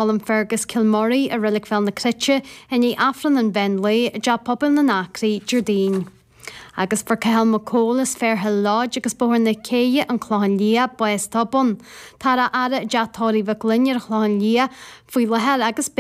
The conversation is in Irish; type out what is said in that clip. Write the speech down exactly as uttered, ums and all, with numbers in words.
Colm Fergus Kilmurray i Reilig Bhéal na Cruite i ndiaidh Aifreann an mheán lae i dTeach Pobail na nAcraí Déardaoin. Agus fuair Cathal Mac Cóil as Fairhill Lodge agus Bóthar na Céidhe an Clochán Liath bás tobann. Táthar á fhaire i dteach tórraimh Mhic Fhloinn ar an Chlochán Liath faoi láthair agus beidh